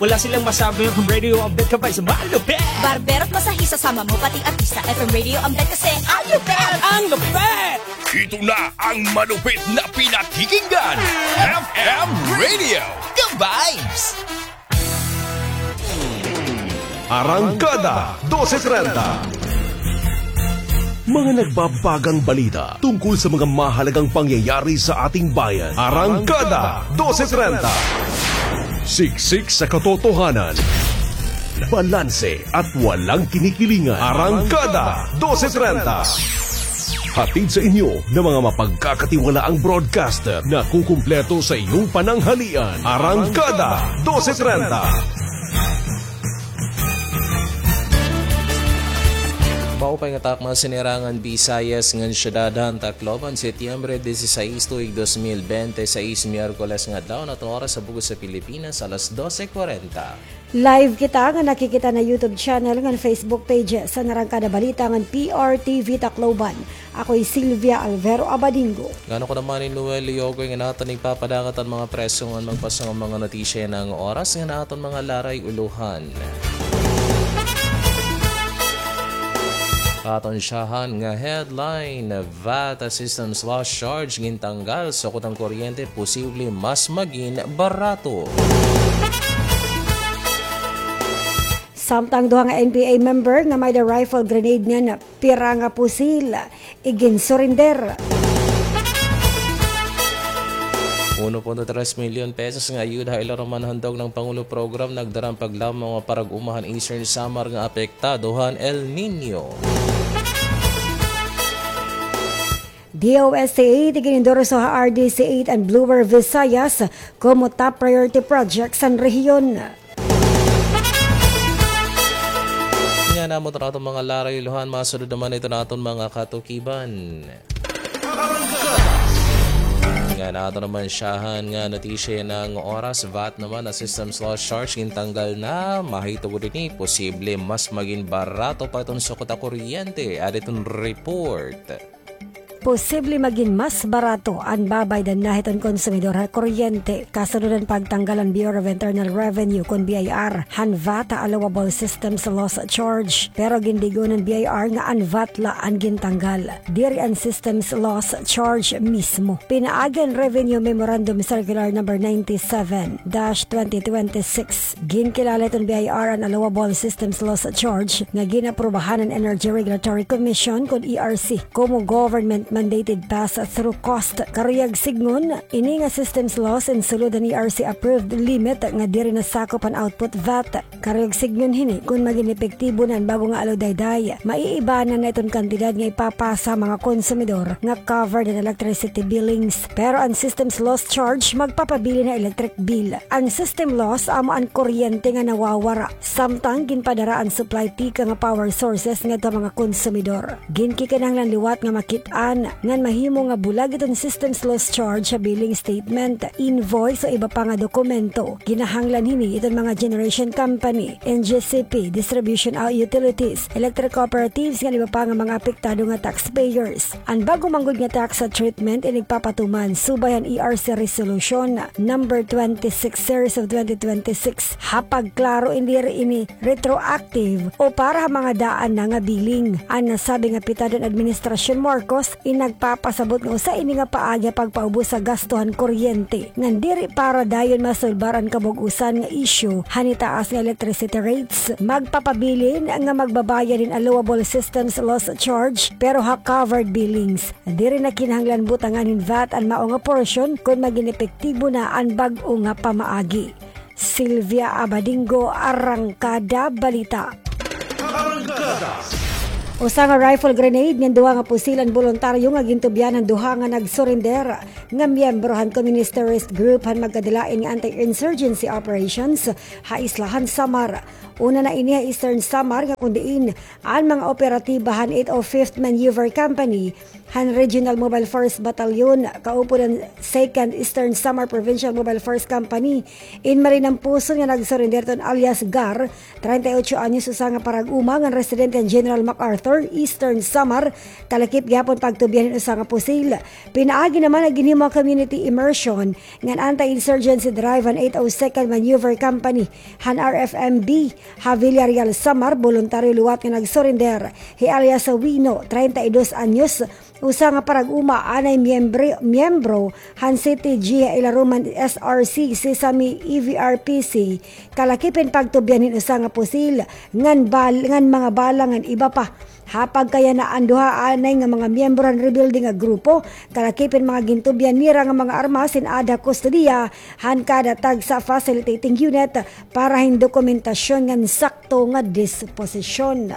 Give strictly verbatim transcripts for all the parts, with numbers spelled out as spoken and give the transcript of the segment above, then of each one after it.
Wala silang masabi, F M Radio ang bet ka pa sa malupit. Barbero at masahista, sama mo pati artista. F M Radio ang bet kasi ang lupit! Ang lupit! Ito na ang malupit na pinakikinggan. F M Radio, the vibes! Arangkada dose trenta. Mga nagbabagang balita tungkol sa mga mahalagang pangyayari sa ating bayan. Arangkada dose trenta. Siksik sa katotohanan. Balanse at walang kinikilingan. Arangkada dose trenta. Hatid sa inyo ng mga mapagkakatiwalaang broadcaster na kukumpleto sa iyong pananghalian. Arangkada dose trenta. Maupay nga takna, Sinerangan Visayas ngan syudad han Tacloban, Setyembre dieciséis, tuig dos mil bente seis, Miyerkules nga adlaw, an aton oras ha bug-os ha Pilipinas, alas doce cuarenta. Live kita nga nakikita ha YouTube channel ngan Facebook page san Arangkada Balita ngan P R T V Tacloban. Ako hi Sylvia Alvero Abadingo. Ngan ako naman hi Noel Leogoy nga aton igpapadangat an mga presko ngan magpasango nga mga notisya yana nga oras ngan aton mga laray-ulohan. Aton syahan nga headline, VAT systems loss charge gintanggal, sukot an kuryente posible mas magin barato. Samtang duha nga N P A member nga may-ada rifle, grenade ngan pira nga pusil iginsurinder. Uno punto tres milyon pesos nga ayuda ha Ila Roman Handog ng Pangulo program nagdara an paglamon nga parag-uma han Eastern Samar nga apektado han El Niño. D O S T eight iginindorso ha R D C eight an Bluer Visayas komo top priority project san rehiyon. Ngan amo an aton mga laray-ulohan, masunod naman iton aton mga katukiban. Ngan aton naman syahan nga notisya yana nga oras, VAT naman, an systems loss charge gintanggal na, mahitungod hini posible mas magin barato pa iton sukot ha kuryente, adi iton report. Posible magin mas barato an babaydan na hiton konsumidor ha kuryente, kasunod han pagtanggal han Bureau of Internal Revenue kon B I R han VAT ha allowable systems loss charge. Pero gindigon han B I R nga an VAT la an gintanggal, diri an systems loss charge mismo. Pinaagi han Revenue Memorandum Circular number ninety-seven dash twenty twenty-six, ginkilala hiton B I R an allowable systems loss charge nga gin-aprubahan han Energy Regulatory Commission kon E R C komo government-mandated pass-through cost. Karuyag sidngon, ini nga systems loss in sulod han E R C approved limit nga diri nasakop han output VAT. Karuyag sidngon hini kon magin epektibo na an bag-o nga aludayday, maiibanan na iton kantidad nga ipapasa ha mga konsumidor nga covered han electricity billings. Pero an systems loss charge magpapabilin ha electric bill. An system loss amo an kuryente nga nawawara samtang ginpadara an supply tikang ha power sources ngadto ha mga konsumidor. Ginkikinahanglan liwat nga makit-an ngan mahimo nga bulag iton systems loss charge ha billing statement, invoice o iba pa nga dokumento. Kinahanglan hini iton mga generation company, N G C P, distribution, ah, utilities, electric cooperatives ngan iba pa nga mga apektado nga taxpayers. An bag-o man gud nga tax treatment inigpapatuman subay han E R C Resolution number twenty-six series of twenty twenty-six. Ha pagklaro, diri ini retroactive o para ha mga daan na nga billing. An nasabi nga pitado han Administrasyon Marcos in nagpapasabot nga usa ini nga paagi ha pagpaubos ha gasto han kuryente ngan diri para dayon masulbar an kabug-osan nga isyu han itaas nga electricity rates. Magpapabilin nga magbabayad hin allowable systems loss charge pero ha covered billings. Diri na kinahanglan butangan hin VAT an mao nga porsyon kon magin epektibo na an bag-o nga pamaagi. Sylvia Abadingo, Arangkada Balita. Arangkada. Usa nga rifle grenade ngan duha nga pusil an boluntaryo nga gintubyan han duha nga nagsurinder nga miyembro han Communist Terrorist Group han magkadilain nga anti-insurgency operations ha isla han Samar. Una na ini ha Eastern Samar nga kon diin an mga operatiba han eight oh fifth Maneuver Company han Regional Mobile Force Battalion, kaupod han Second Eastern Samar Provincial Mobile Force Company, in Malinampuson nga nagsurrender hiton alias Gar, treinta y ocho anyos, usa nga parag-uma ngan residente han General MacArthur, Eastern Samar, kalakip gihapon pagtubyan hin usa nga pusil. Pinaagi naman nga ginhimo nga community immersion ngan anti-insurgency drive han eight oh second Maneuver Company han R F M B ha Villarreal, Samar, boluntaryo liwat nga nagsurrender hi alias Wino, treinta y dos anyos, usa nga parag-uma anay miyembri-, miyembro han C T G ha ilarom han S R C Sesame E V R P C, kalakip hin pagtubyan hin usa nga pusil ngan bal-, ngan mga bala ngan iba pa. Ha pagkayana, an duha anay nga mga miyembro han rebelde nga grupo, kalakip hin mga gintubyan nira nga mga armas, in-aada ha kustodiya han kada tagsa facilitating unit para hin dokumentasyon ngan sakto nga disposisyon.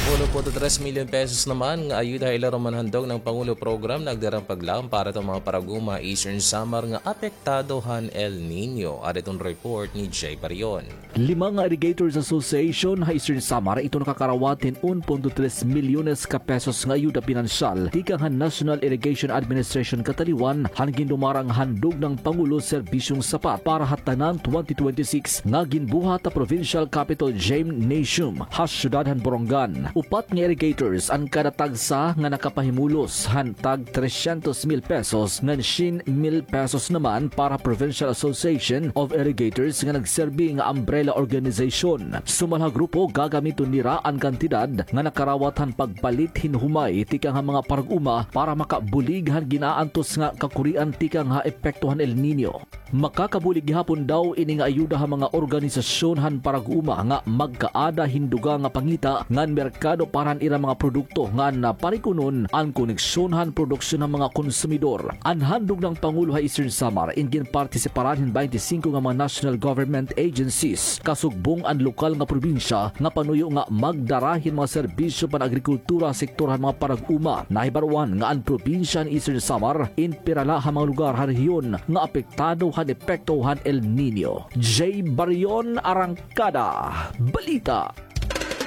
Uno punto tres milyon pesos naman nga ayuda ha ilarom han handog ng Pangulo program nagdarang paglaom para hiton mga parag-uma ha Eastern Samar nga apektado han El Niño. Ada hiton report ni Jay Barion. Lima nga Irrigators Association ha Eastern Samar iton nakakarawat hin un punto tres milyones ka pesos nga ayuda pinansyal tikang han National Irrigation Administration kataliwan han gindumara nga handog ng Pangulo Serbisyong Sapat para ha Tanan twenty twenty-six nga ginbuhat ha Provincial Capitol Gymnasium ha siyudad han Borongan. Upat nga irrigators an kada tagsa nga nakapahimulos han tag tresyentos mil pesos ngan syen mil pesos naman para Provincial Association of Irrigators nga nagserbi nga umbrella organization. Sumal ha grupo, gagamiton nira an kantidad nga nakarawat han pagpalit hin humay tikang ha mga parag-uma para makabulig han gin-aantos nga kakurian tikang ha epekto han El Niño. Makakabulig gihapon daw ini nga ayuda ha mga organisasyon han parag-uma nga magkaada hin dugang nga pangita ngan merkado para han ira mga produkto ngan, ah, parikunon an koneksyon han produksyon han mga konsumidor. An handog ng Pangulo ha Eastern Samar in ginpartisiparan hin baynte singko nga mga national government agencies, kasugbong an lokal nga probinsya nga panuyo nga magdara hin mga serbisyo pan-agrikultura ha sektor han mga parag-uma. Nahibaroan nga an probinsya han Eastern Samar in pira la ha mga lugar ha rehiyon nga apektado han epekto han El Niño. Jay Barion, Arangkada Balita.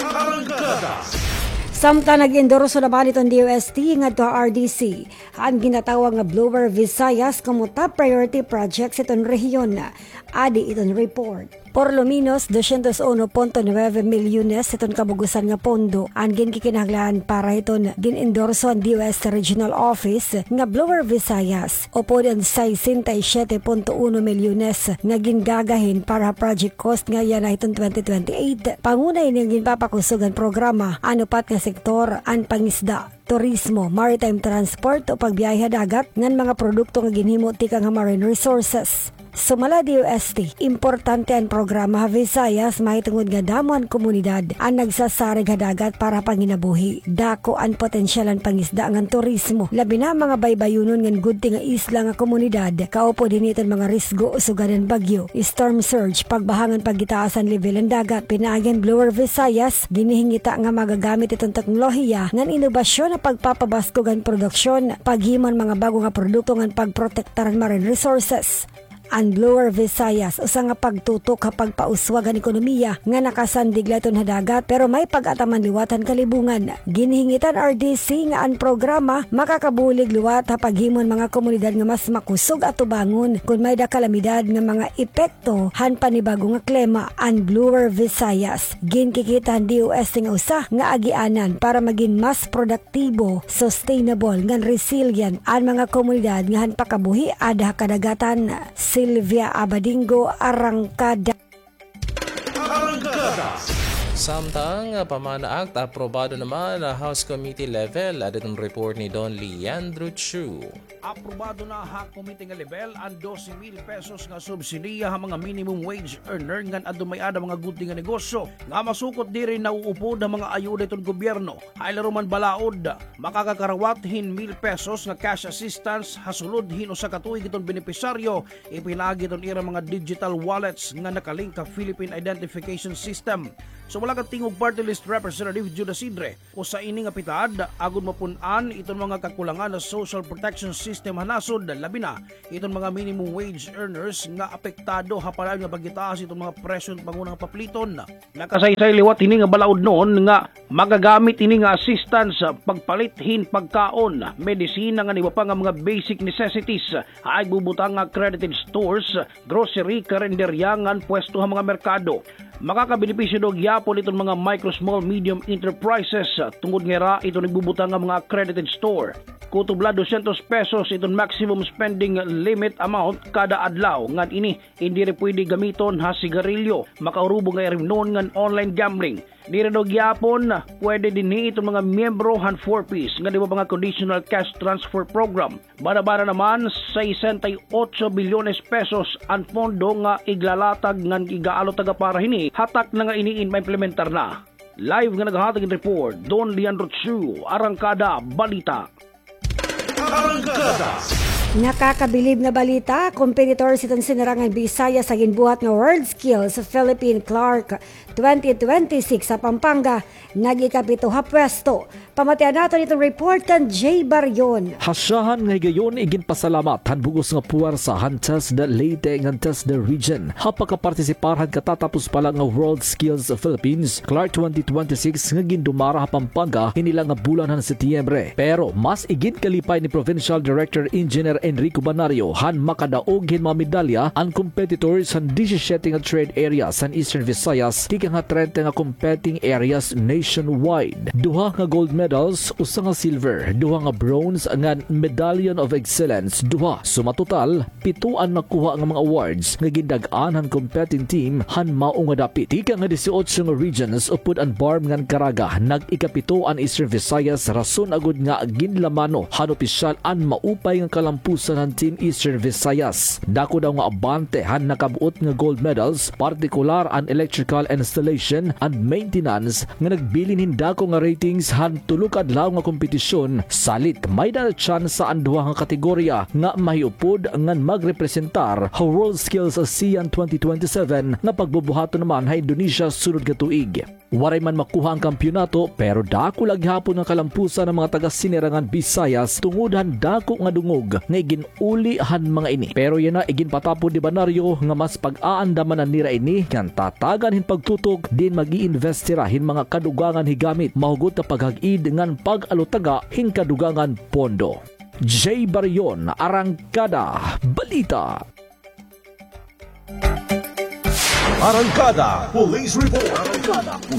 Arangkada. Samtang nag-endorso naman iton D O S T ngadto ha R D C an ginatawag nga Blower Visayas komo top priority projects iton rehiyon. Adi iton report. Por lo menos dosyentos uno punto nuebe milyones iton kabugusan nga pondo an ginkikinahanglan para hiton gin-endorso han D O S Regional Office nga Blower Visayas, upod an sesenta y siete punto uno milyones nga gingagahin para ha project cost nga yana hiton twenty twenty-eight. Pangunay ini nga ginpapakusog han programa an upat nga sektor, an pangisda, turismo, maritime transport o pagbiyahe ha dagat ngan mga produkto nga ginhimo tikang ha marine resources. Sumala D O S T, importante an programa ha Visayas mahitungod nga damo an komunidad an nagsasarig ha dagat para ha panginabuhi. Dako an potensyal han pangisda ngan turismo, labi na mga baybayonon ngan gudti nga isla nga komunidad, kaupod hini iton mga risgo sugad han bagyo, storm surge, pagbaha ngan pagitaas han lebel han dagat. Pinaagi han Blower Visayas, ginhihingita nga magagamit iton teknolohiya ngan inobasyon ha pagpapabaskog han produksyon, paghimo han mga bag-o nga produkto ngan pagprotektar han marine resources. An Blower Visayas, usa nga pagtutok ha pagpauswag han ekonomiya nga nakasandig la iton ha dagat, pero may pag-ataman liwat han kalibungan. Ginhingit han R D C nga an programa makakabulig liwat ha paghimo han mga komunidad nga mas makusog atubangon kon may-ada kalamidad nga mga epekto han panibag-o nga klima. An Blower Visayas, ginkikita han D O S T nga usa nga agianan para magin mas produktibo, sustainable, ngan resilient an mga komunidad nga han pakabuhi ada ha kadagatan. Sylvia Abadingo, Arangkada. Arangkada. Samtang, ah, PAMANA Act, aprobado naman ha House Committee level. Ada iton report ni Don Leandro Chu. Aprobado na ha komite nga lebel an dose mil pesos nga subsidiya ha mga minimum wage earner ngan adto may-ada mga gudti nga negosyo nga masukot diri nauupod ha mga ayuda iton gobyerno. Ha ilarom han balaod, makakakarawat hin mil pesos nga cash assistance ha sulod hin usa ka tuig iton benepisyaryo, ipinaagi iton ira mga digital wallets nga nakalink ha Philippine Identification System. Sumala Nakatingog Party List Representative Judas Sidre, usa ini nga pitad agod mapun-an iton mga kakulangan sa social protection system ha nasod, labi na iton mga minimum wage earners nga apektado ha padayon nga pagitaas iton mga presyo han panghunahunaa nga papliton. Nakasaysay liwat hini nga balaod nga magagamit ini nga assistance pagpalit hin pagkaon, medisina ngan iba pa nga mga basic necessities ha igbubutang nga accredited stores, grocery, karinderya ngan pwesto ha mga merkado. Makakabenepisyo daw gihapon iton mga micro, small, medium enterprises tungod nga ira iton igbubutang nga mga accredited store. Kutob la dosyentos pesos iton maximum spending limit amount kada adlaw, ngan ini indi rin pwede gamiton ha sigarilyo, makaurubo nga irimnon ngan online gambling. Diri daw gihapon pwede dinhi iton mga miyembro han four Ps ngan iba pa nga conditional cash transfer program. Bada-bada naman, sesenta y ocho bilyones pesos an pondo nga iglalatag ngan igaalutaga para hini ha takna nga ini in maimplementar na. Live nga naghahatag hin report, Don Leandro Chu, Arangkada Balita. Arangkada. Nakakabilib nga balita, competitors hiton Sinurangan Bisaya sa ginbuhat nga WorldSkills Philippine Clark twenty twenty-six sa Pampanga, nag-ikapito ha pwesto. Pamatian naton iton report kan Jay Barion. Hasyahan nga higayon iginpasalamat han bug-os nga puwersa han TESDA Leyte ngan TESDA Region ha pagkapartisipar han katatapos pa la nga WorldSkills Philippines Clark twenty twenty-six nga gindumara ha Pampanga hini la nga bulan han Setyembre. Pero mas iginkalipay ni Provincial Director Engineer Enrico Banario han makadaog hin mga medalya an competitors han disisiyete nga trade areas han Eastern Visayas tikang ha trenta nga competing areas nationwide. Duha nga gold medals, usa nga silver, duha nga bronze ngan Medallion of Excellence, duha. Suma total, pito an nakuha nga mga awards nga gindag-an han competing team han mao nga dapit. Tikang ha disiotso nga regions upod an BARMM ngan Caraga, nag-ikapito an Eastern Visayas, rason agod nga ginlamano han opisyal an maupay nga kalampusan han Team Eastern Visayas. Dako daw nga abante han nakab-ot nga gold medals, partikular an electrical installation and maintenance nga nagbilin hin dako nga ratings han tulo ka adlaw nga kompetisyon, salit may-ada na tsansa an duha nga kategorya nga mahiupod ngan magrepresentar ha WorldSkills ASEAN twenty twenty-seven nga pagbubuhaton naman ha Indonesia sunod nga tuig. Waray man makuha an kampiyonato, pero dako la gihapon nga kalampusan an mga taga-Sinurangan Visayas tungod han dako nga dungog nga igin- uli han mga ini. Pero yana, iginpatapod ni Banario nga mas pag-aandaman na nira ini ngan tatagan hin pagtutok diin mag-iinvest hira hin mga kadugangan higamit mahugot nga paghag-id ngan pag-alutaga hin kadugangan pondo. Jay Barion, Arangkada Balita. Arangkada Police Report.